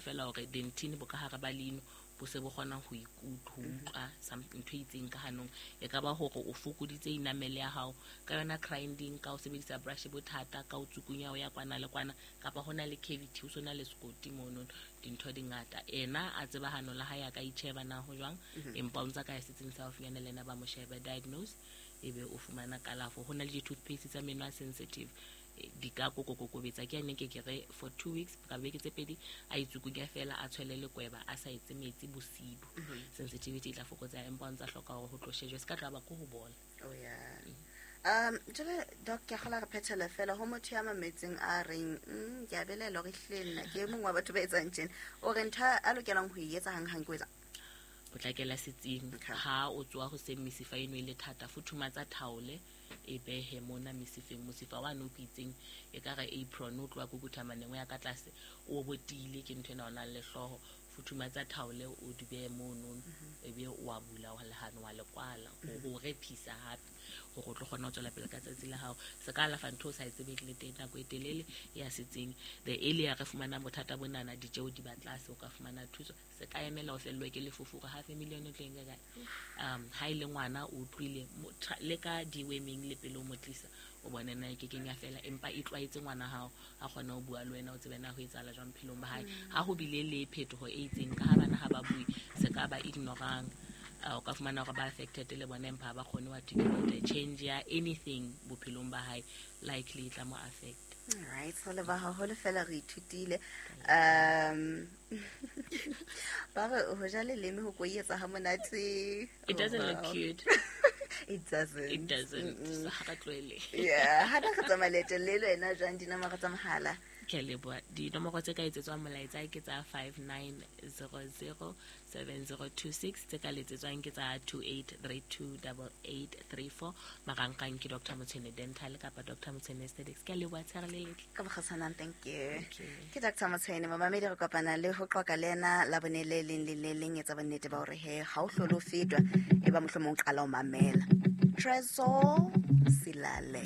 fela hore dentine bo ka hare ba leino bo se bo kgona ho utlwa ntho e itseng ka hanong. E ka ba hore o fokoditse enamel ya hao ka yona grinding, ka o sebedisa brush bothata, ka o tsukunya o ya kwana le kwana, kapa ho na le cavity, o so na le sekoti mono, dintho di ngata. Ena a tseba hano la hae a ka itjheba na ho jwang, empa o ntsa ka ya setsing sa haufinyana le ena ba mo shebe, diagnose, ebe o fumana kalafo. Ho na le di-toothpaste tsa meno a sensitive, di ka kokokokobetsa. Ke ane ke ke re for 2 weeks ka beke tse pedi a itsukunya fela, a tshwele lekweba, a sa etse metsi bosibu. Sensitivity e tla fokotseha, empa o ntsa hloka hore ho tlo shejwe, se ka tloha ba ko ho bola. Oh yeah. Jwale doc, ke a kgola re phethela fela ho motho ya mametseng a reng, ke a belaela hore ehlile nna ke e mong wa batho ba etsang tjena, o re ntho a lokelang ho e etsa hanghang ke ho etsa potlakela setsing. Ha o tsoha hoseng mesifa eno e le thata, futhumatsa thaole e behe mona mesifeng. Mosifa wa no itseng e ka re apron o tloha kukuthamaneng o ya ka tlase o botile ke ntho ena o nang le hlooho. Futhumatsa thaole o di behe mono, ebe o a bula wa lehano wa le kwala ho rephisa hape hore o tlo kgona ho tswela pele ka tsatsi la hao. Se ka alafa ntho o sa e tsebeng le teng nako e telele ya setsing. The earlier re fumana bothata bonana, ditjeo di ba tlase, o ka fumana thuso. Se ka emela o fellwe ke lefofo hore half a million o tlo e nka kae. Ha e le ngwana o utlwile, le ka deworming le pele o mo tlisa, o bone na e ke keng ya fela, empa e tlwaetse ngwana hao a kgone ho bua le wena, o tsebe na ho etsahala jwang phelong ba hae. Ha ho bile le phetoho e itseng, ka ha bana ha ba bue, se ka ba ignorang. O ka fumana hore ba affected le bona, empa ha ba kgone ho articulate. Change ya anything bophelong ba hae likely e tla mo affect. All right, so le ba haholo fela re ithutile. Ba re ho ja leleme ho koietsa ha monate. It doesn't look cute. It doesn't. It doesn't. So ha re tlohele. Yeah, ha re tsamaya leeto le le wena jwang dinomoro tsa mohala? Ke a leboha. Dinomoro tse ka etsetswang molaetsa ke tsa 59007026, tse ka letsetswang ke tsa 28328834. Marangrang ke Doctor Motshwene Dental kapa Doctor Motshwene Aesthetics. Ke a leboha, tshehare le letle. Ka bokgutshwanang, thank you. Thank you. Ke Doctor Motshwene, momamedi re kopana le ho qoqa le ena Labone le leng le le leng, etsa bonnete ba hore he ha o hlole o fetwa, e ba mohlomong o qala ho mamela. Tresor Silale.